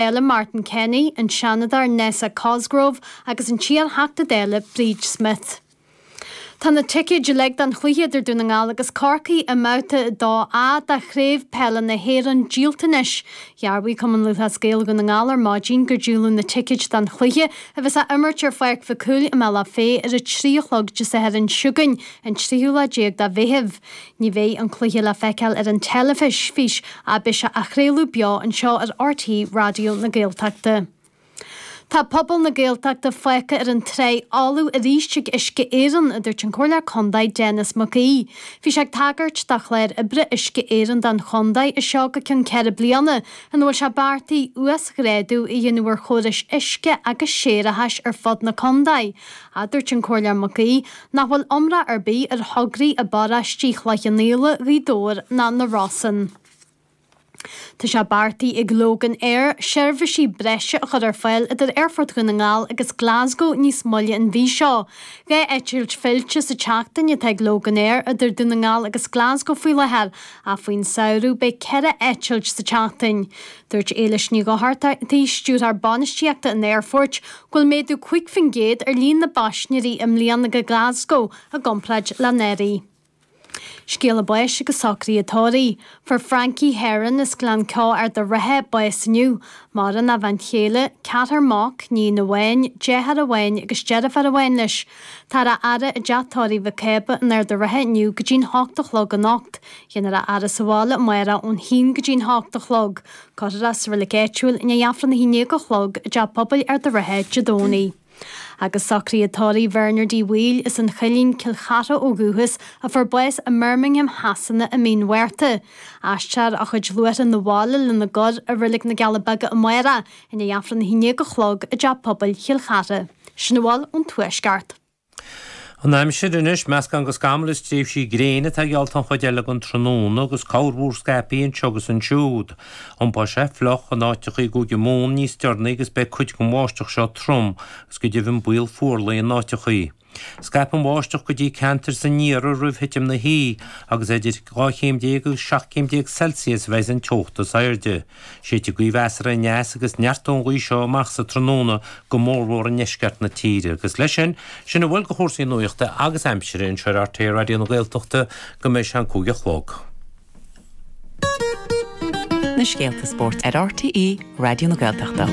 Dála Martin Kenny, an Seanadóir Nessa Cosgrove agus an t-iar-Theachta Dála Bríd Smith. Tá na ticéid uilig don chluiche idir Dún na nGall agus Corcaigh i mBabhta 2A de Chraobh Peile na hÉireann díolta anois. Dhearbhaigh Cumann Lúthchleas Gael Dhún na nGall ar maidin gur díoladh na ticéid don chluiche a bheas á imirt ar Pháirc Mhic Cumhaill i mBealach Féich ar a 3 a chlog Dé Sathairn seo chugainn, an tríú lá déag de Mheitheamh. Ní bheidh an cluiche le feiceáil ar an teilifís ach beidh sé á chraoladh beo anseo ar RTÉ Raidió na Gaeltachta. Tá pobal na Gaeltachta fágtha ar an tráigh fholamh arís ag Uisce Éireann, a dúirt an Comhairleoir Contae Denis Mac Aoidh. Bhí sé ag tagairt do chlár oibre Uisce Éireann don chontae as seo go ceann 4 bliana, ina bhfuil sé beartaithe uasghrádú a dhéanamh ar chórais uisce agus séarachais ar fud na contae. A dúirt an Comhairleoir Mac Aoidh nach bhfuil iomrá ar bith ar thograí i bparóistí Chloich Cheann Fhaola, Ghaoth Dobhair ná na Rosann. Tá sé beartaithe ag Loganair seirbhísí breise a chur ar fáil idir Aerfort Dhún na nGall agus Glasgow níos moille an mhí seo. 2 eitilt fillte sa tseachtain atá ag Loganair idir Dún na nGall agus Glasgow faoi láthair ach faoin samhradh beidh 4 eitilt sa tseachtain. Dúirt Éilis Ní Dhochartaigh, Stiúrthóir Bainistíochta an Aerfoirt, go bhfuil méadú 5% ar líon na bpaisinéirí i mbliana go Glasgow i gcomparáid le anuraidh. Scéala báis agus socruithe tórraimh. Fuair Frankie Herron as Gleann Ceo Ard a' Rátha bás inniu. Maireann a bhean chéile, ceathrar mac, níon amháin, deartháir amháin agus deirfiúr amháin leis. Táthar á fhaire i dteach tórraimh Mhic Cába in Ard a' Rátha inniu go dtí'n hocht a chlog anocht. Dhéanfar a fhaire sa bhaile amárach ón haon go dtí'n hocht a chlog. Cuirfear é sa reilig áitiúil i ndiaidh Aifreann a haon déag a chlog i dTeach Pobail Ard a' Rátha Dé Domhnaigh. Agus socruithe tórraimh Bhernard Uí Bhaoill as an Choillín, Cill Chartha ó dhúchas, a fuair bás i mBirmingham Shasana i mí an Mhárta. Aistreofar a chuid luaithreach 'na bhaile lena gcur i Reilig na gCealla Beaga amárach i ndiaidh Aifreann a haon déag a chlog i dTeach Pobail Chill Chartha. Sin a bhfuil ón Tuaisceart. An aimsir anois, meascán de scamaill is tréimhsí gréine atá geallta an chuid eile den tráthnóna agus corrmhúr scaipthe anseo agus ansiúd. Iompóidh sé fliuch in áiteacha i gCúige Mumhan níos deireanaí agus beidh cuid den bháisteach seo trom agus go deimhin baol fuarlaigh in áiteacha. Scaipfidh an bháisteach go dtí ceantair san iarthar roimh thitim na hoíche agus idir 12 chéim agus 17 céim Celsius a bheidh an teocht is airde. Séidfidh gaoth mheasartha aneas agus neartóidh an ghaoth seo amach sa tráthnóna go mórmhór i ndeisceart na tíre. Agus leis sin, sin a bhfuil de chúrsaí nuachta agus aimsire anseo ar RTÉ Raidió na Gaeltachta go mbeidh sé an 5 a chlog. Na scéalta spóirt ar RTÉ Raidió na Gaeltachta.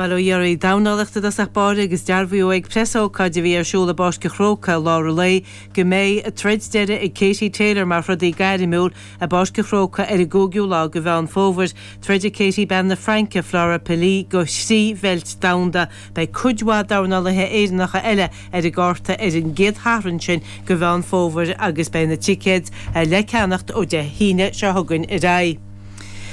Bail ó Dhia oraibh. Dornálaíocht i dtosach báire agus dearbhaíodh ag preasócáid a bhí ar siúl i bPáirc an Chrócaigh i lár an lae go mbeidh an troid deiridh ag Katie Taylor mar throdaí gairmiúil i bPáirc an Chrócaigh ar an gcúigiú lá de Mheán Fómhair. Troidfidh Katie bean na Fraince, Flora Pili, do thrí bheilt domhanda. Beidh cuid mhaith dornálaithe Éireannacha eile ar an gcárta ar an gcéad Shatharn sin de Mheán Fómhair agus beidh na ticéid le ceannacht ó Dé hAoine seo chugainn ar aghaidh.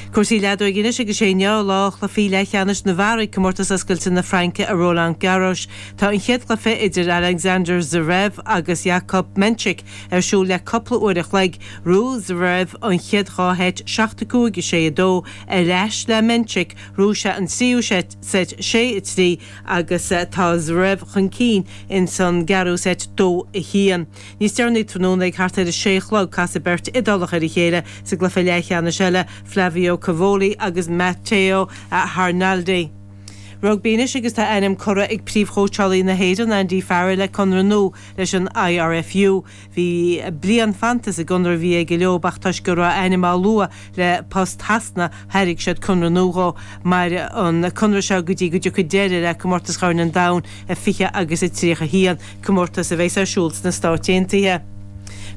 Cúrsaí leadóige anois agus sé inniu lá chluichí leathcheannais na bhfear ag Comórtas Oscailte na Fraince i Roland Garros. Tá an chéad chluiche idir Alexander Zverev agus Jakub Mensik ar siúl le cúpla uair a chloig. Ghnóthaigh Zverev an chéad dhá sheit, 7, 5, 6, 2, ar ais le Mensik, ghnóthaigh sé an tríú seit, 6, 3, agus tá Zverev chun cinn ins an gceathrú seit, 2, 1. Níos deireanaí tráthnóna ag thart ar a sé a chlog casfaidh beirt Iodálach ar a chéile sa gcluiche leathcheannais eile, Flavio Cobolli agus Matteo Arnaldi. Rugbaí anois agus tá a ainm curtha ag príomhchóitseálaí na hÉireann, Andy Farrell le conradh nua leis an IRFU. Bhí bliain fanta sa gconradh a bhí aige leo ach toisc go raibh a ainm á lua le post Shasana thairg siad conradh nua dhó. Mairfidh an conradh seo go dtí go dtiocfaidh deireadh le Comórtas Chorn an Domhain i 20 agus i 31. comórtas a bheas ar siúl sna Stáit Aontaithe.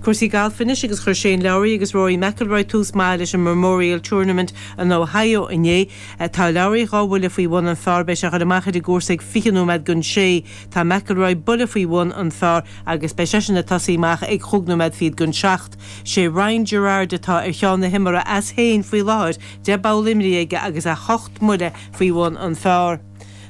Cúrsaí gailf anois agus chuir Shane Lowry agus Rory McIlroy tús maith leis an Memorial Tournament in Ohio inné. Tá Lowry dhá bhuille faoi bhun an phar, beidh sé ag dul amach ar an gcúrsa ag 20 nóiméad don sé. Tá McIlroy buille faoi bhun an phar agus beidh seisean ag tosaí amach ag chúig nóiméad fichead don seacht. Sé Ryan Gerard atá ar cheann na himeartha as féin faoi láthair, 10 bpoll imrithe aige agus é hocht mbuille faoi bhun an phar.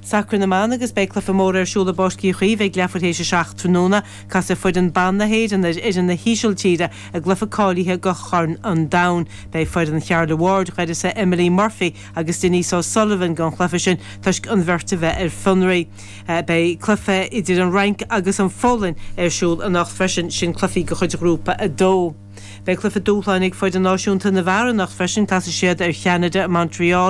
Sacar na mBan agus beidh cluiche mór ar siúl i bPáirc Uí Chaoimh ag leathuair théis a 7 tráthnóna. Casfaidh foireann ban na hÉireann ar fhoireann na hÍsiltíre i gcluiche cáilithe do Chorn an Domhain. Beidh foireann Charla Ward d'uireasa Emily Murphy agus Denise O'Sullivan gan chluiche sin toisc an bheirt a bheith ar fionraí. Beidh cluiche idir an Fhrainc agus an Pholainn ar siúl anocht freisin, sin cluichí de chuid Ghrúpa 2. Beidh cluiche dúshláin ag foireann náisiúnta na bhfear anocht freisin, casfaidh siad ar Cheanada i Montreal.